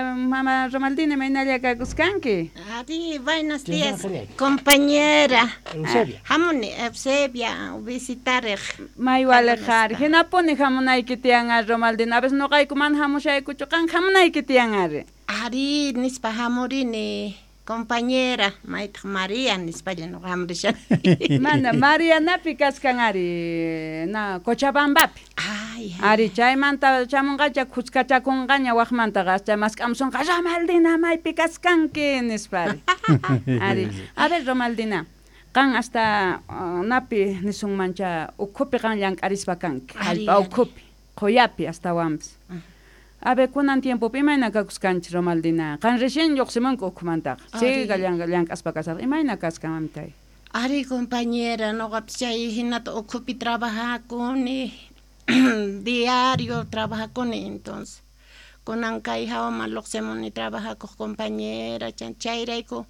Mama Romaldina, imaynalla kakuskanki? Ari, buenos días, compañera. Eusebia. Hamuni Eusebia visitariq. May waliq ari. Hinapuni hamunayki tiyan ari, Romaldina. A veces noqayku mana hamushaykuchu, qan hamunayki tiyan ari. Ari, nispa hamurini, compañera, maytaq María nispalla noqa hamurishani. Mana, Marianapi kaskan ari, na Cochabambapi. Ay, Ari, chaymanta chamunqacha kuskachakunqaña waqmantaqa, chay mask'amusunqa, Romaldina, maypi kaskanki, nispa ari. Ari, a ver, Romaldina, qan hasta napi nisunmancha ukhupi qan llank'arispa kanki, Ari, hallp'a ari. ukhupi, qhuyapi astawanpas. A ver, kunan tiempopi imayna kakuskanchis, Romaldina? Qan recién lluqsimunki ukhumantaqa. Ari. Siga llank'aspa kasarqa. Imayna kaskan, mamitay? Ari, compañera, noqapis chay hinata ukhupi trabajakuni, diario trabajakuni, entonces kunan kay hawaman lluqsimuni trabajakuq compañera, chayrayku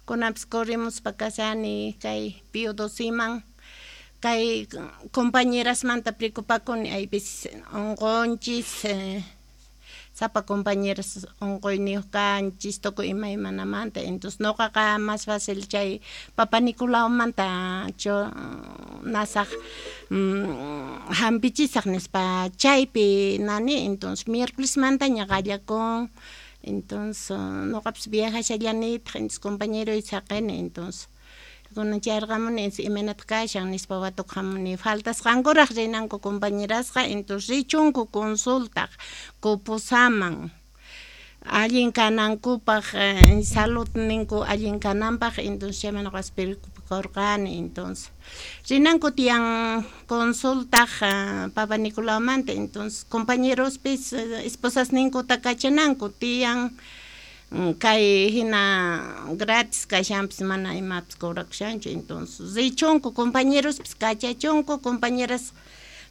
kunanpis corrimuspa kasani kay Pío Dociman, kay compañerasmanta preocupakuni, hay veces unqunchis, sapa compañeras unquyniyuq kanchis, tukuy imaymanamanta, entonces noqaqa más fácil chay Papa Nicolaumanta cho nasaq, hampichisaq nispa chaypi nani, entonces miércolesmantaña qallakun, entonces noqapis viajashallanitaq, entonces compañeroy saqini, entonces kunan chayrqamuni, entonces imaynataq kashan nispa watukuq hamuni, faltasqankuraq rinanku compañerasqa, entonces richunku consultaq Coposaman, allin kanankupaq, saludninku allin kananpaq, entonces chayman noqapas preocupakurqani, entonces rinanku tiyan consultaq Papa Nicolaumanta, entonces compañerospis esposasninkuta kachananku tiyan, kay hina gratis kashanpis mana imapis cobrakushanchu, entonces richunku compañerospis kachachunku, compañeras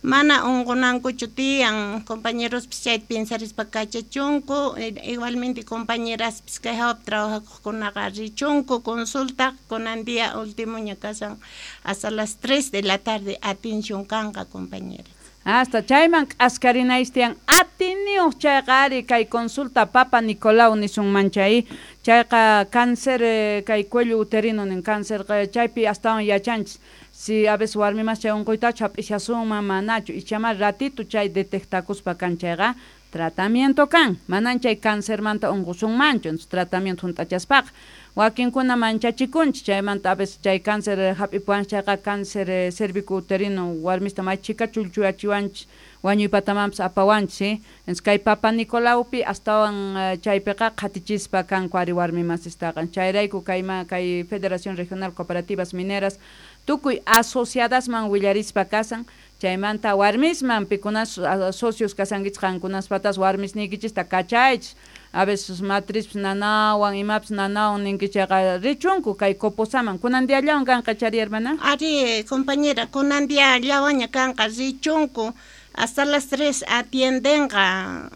mana unqunankuchu tiyan, compañerospis chayta pensarispa kachachunku, igualmente compañeraspis kay hawapi trabajakuqkunaqa richunku consultaq, kunan día últimoña kashan hasta las 3 de la tarde atención kanqa, compañeras. Hasta chayman k'askarinaysi tiyan atiniyuq chayqa ari kay consulta Papa Nicolau nisunman chay, chayqa cáncer, kay cuello uterino nin cáncer, chaypi astawan yachanchis si a veces warmimas chay unquytachu hap'ishasunman manachu, ichama ratito chay detectakuspa kan chayqa tratamiento kan, manan chay cancermanta unqusunmanchu, entonces tratamiento hunt'achaspaqa wakinkuna manchachikunchis chaymanta a veces chay cáncer hap'ipuwanchis chayqa cáncer cervicuterino warmista may chika chulchuyachiwanchis wañuypatamanpas apawanchis, ¿sí? Entonces kay Papa Nicolaupi astawan chaypiqa qhatichispa kanku ari warmimasistaqa, chayrayku kay Federación Regional Cooperativas Mineras tukuy asociadasman willarispa kasan, chaymanta warmisman pikunas socios kasankichis qankunaspatas warmisniykichista kachaychis, a veces matrispis nanawan imapis nanawan ninkichis chayqa richunku kay Coposaman, kunan diallawan kanqa chari hermana? Ari, compañera, kunan diallawanña kanqa, richunku hasta las 3 atiendenqa,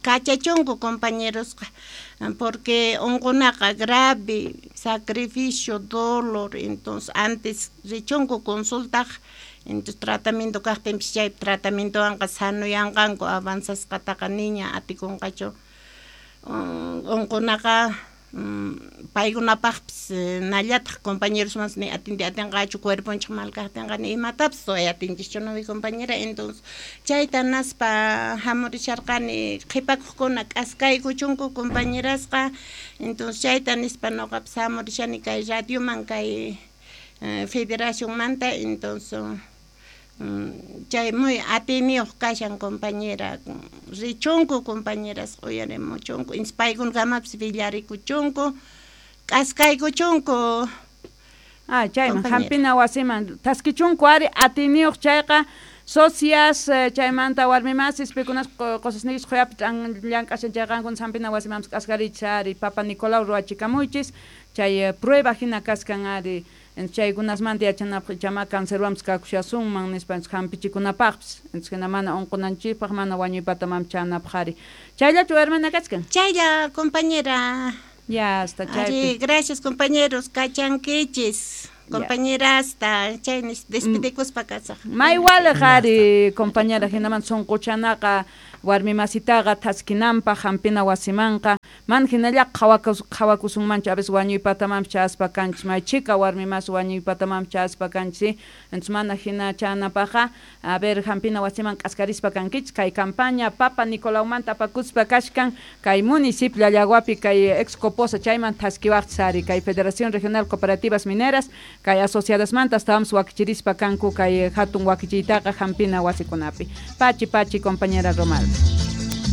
kachachunku compañerosqa, porque unqunaqa grave, sacrificio, dolor, entonces antes richunku consultaq, entonces tratamiento kaqtinpis chay tratamientowanqa sanuyanqanku, avanzasqataqa niña atikunqachu, unqunaqa paykunapaqpis nallataq compañerosmanpas ni atinti atinqachu, cuerponchik mal kaqtinqa ni imatapis ruway atinchischu, no, mi compañera, entonces chayta naspa hamurisharqani qhipakuqkuna k'askaykuchunku compañerasqa, entonces chayta nispa noqapis hamurishani kay radioman kay federacionmanta, entonces chay muy atiniyuq kashan compañera, richunku compañeras uyarimuchunku, entonces paykunakamapis villarikuchunku, k'askaykuchunku. Ah, chayman, Compañera. hampina wasiman taskichunku ari atiniyuq chayqa socias, chaymanta warmimasis pikunas qosasniykichis qhuyapi llank'ashan chayqa qankuna hampina wasimanpis k'askarichis ari Papa Nicolau ruwachikamuychis, chay prueba hina kaskan ari, chaykunasmanta yachanapaq ichama cancerwanpis kakushasunman nispa hampichikunapaqpis, entonces hina mana unqunanchikpaq, mana wañuypatamanpis chanapaq ari. Chayllachu hermana kachkan? Chaylla, compañera. Ya, hasta chaypi. Ari, gracias, compañeros, kachankichis. Ya. Compañerasta, chay despedikuspa kasaq. May waliq ari, compañera, hinaman sunquchanaqa Warmi masitaqa thaskinanpaq hampina wasimanqa mana hinalla qhawakusunmanchu, a veces wañuypatamanpas chayaspa kanchis, may chhika warmi masi wañuypatamanpas chayaspa kanchis, entonces mana hina chanapaqqa, a ver, hampina wasiman k'askarispa kankichis. Kay campaña Papa Nicolaumanta apakuspa kashkan kay municipio Llallaguapi kay ex Coposa, chayman thaskiwaqchis ari kay Federación Regional Cooperativas Mineras kay asociadasmanta estábamos wakichirispa kanku kay hatun wakichiytaqa hampina wasikunapi. Pachi pachi, compañera Romalda.